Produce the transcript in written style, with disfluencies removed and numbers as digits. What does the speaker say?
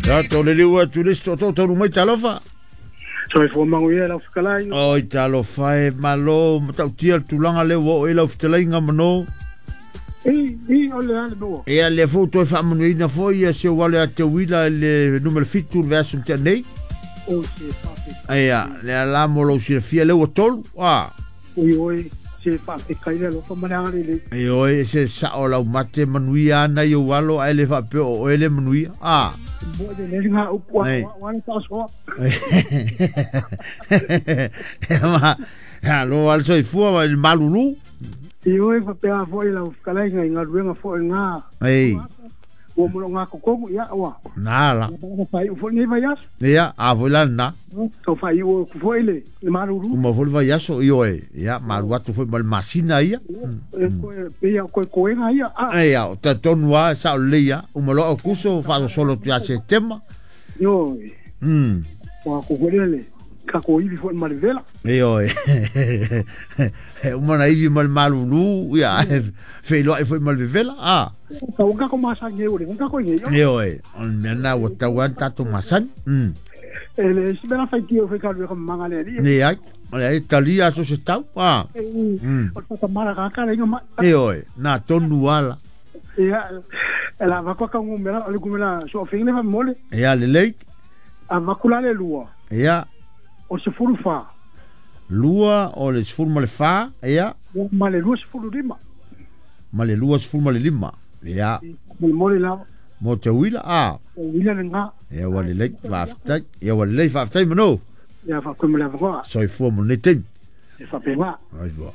Tatou liliu atu i le isi tootoo taunuu mai talofa. Soifua manuia lau fetalai. Oi talofa e malo matautia le tulaga lea ua oo i lau fetalaiga mano. I, i, o le ale noa. Ia lea foi ua toe faamanuiaina foi ia si ou alo ia Teuila i le numera 7 i le vaiaso na tea nei. O se faafetai. Ia, lea la mo lou silafia lea ua tolu. A. Oi oi, se faafetai le alofa ma le agalelei. Ioe, e se sao lau mate manuia ana i ou alo ae le faapea o oe le manuia. A. Mo le le ngā upu a Ei. o ale faasoa. Ma, ia, lo ale soifua ma le malulu. Ioe, faapea foi lau fetalaiga i galuega foi ngā. Ei. Ua mo ngā kokogu, ia, ua. Nā la. Ua whaiu foi nei vaiaso. Ia, a foi la lena. Tau whaiu aku foi le, le malulu. Uma foi le vaiaso, ioe. Ia, malu atu foi ma le masina ia. E koe, pe ia koe koega ia. Ah. Ia, o talitonu lava, sao lelei lava. Uma loa Aokuso, faasolosolo atu ia Setema. Ioe. Ua ko foi le, ka ko ivi foi ma le vela. Ioe. E uma na ivi ma le malulu, ia, feiloai foi ma le vevela, a. Ka o kako masani e ore, kako i nei. Ioe, o le mea lena ua tatau lava ona tatou masani. E le isi mea la faitio foi ka lue ka manga le ali. Ne ai, o le ai talia aso se tau, a. O le whakamara ka ka lenga mai. Ioe, nā tonu ala. Ia, e la vaku ka ngumela, o le ngumela so fingle fa mole. Ia, lelei. A vaku la le lua. Ia. O se fulu fa. Lua o le sefulu ma le fa, ia. Ma le 25. Ma le 25. Ia. Mo le mole lava. Mo te uila, a. O uila le ngā. Ia ua lelei, faafetai. Ia ua lelei, faafetai mano. Ia, faafetai mo le avanoa. Soifua mo lenei taimi. E faapena. Soifua.